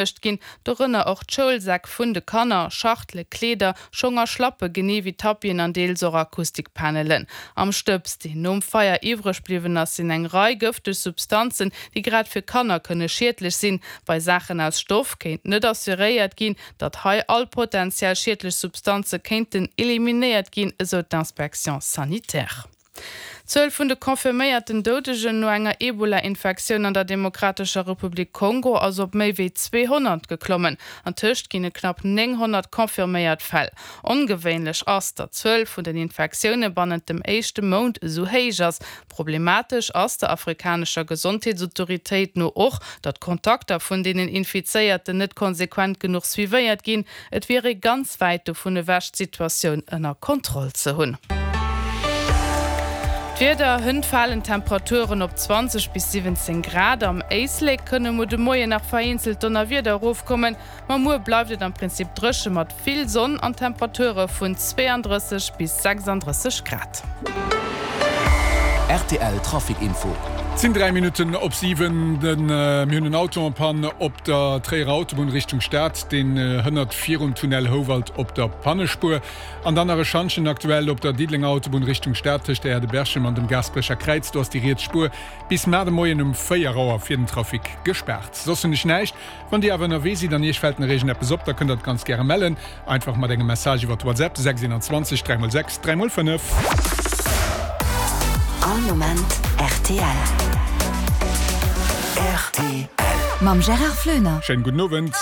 Beschiedegt ginn, dorënner och d'Schoulsäck vun de Kanner, Schachtele, Kleeder, Schong a Schlappe genee wéi Tapien an deels och Akustikpanelen. Am Stëbs, deen nom Feier iwwreg bliwwen ass, sinn eng Rei gëfteg Substanzen, déi grad fir Kanner kënne schiedlech sinn. Bei Saachen aus Stoff kéint net assuréiert ginn, datt hei all potentiell schiedlech Substanze kéinten eliminéiert ginn, esou d'Inspection sanitaire. D'Zuel vun de confirméierten Doudegen no enger Ebola-Infektioun an der Demokratescher Republik Kongo ass op méi wéi 200 geklommen. Antëscht ginn et knapp 900 confirméiert Fäll. Ongewéinlech ass, datt d'Zuel vun den Infektioune bannent dem éischte Mount esou héich ass. Problematesch ass der afrikanescher Gesondheetsautoritéit no och, datt d'Kontakter vun deenen Infizéierten net konsequent genuch suivéiert ginn. Et wier ee ganz wäit dovun ewech, d'Situatioun ënner Kontroll ze hunn. D'Wieder, Hënt falen d'Temperaturen op 20 bis 17 Grad. Am Éislek kënne muer de Moien nach vereenzelt Donnerwieder erofkommen, ma muer bleift et am Prinzip dréche mat vill Sonn an Temperature vun 32 bis 36 Grad. Rtl Trafic Info. Et sinn 3 Minutten op 7. Mir hunn en Auto en panne op der Tréierer Autobunn Richtung Stad. Deen hënnert virum Tunnel Houwald op der Pannespuer. An dann nach e Schantjen aktuell op der Diddelenger Autobunn Richtung Stad tëscht der Aire de Berchem an dem Gaasperecher Kräiz. Do ass déi riets Spuer bis mar de Moien um 4 Auer fir den Trafic gespaart. Soss hunn ech näischt. Wann Dir awer ënnerwee sidd an Iech fält nach iergendeppes op, da kënnt der et ganz gäre mellen. Einfach mat engem Message iwwert WhatsApp, 6 21 3 x 6 3 x 5. All Moment rtl. Rtl. Mam Gérard Floener. Schéinen gudden Owend.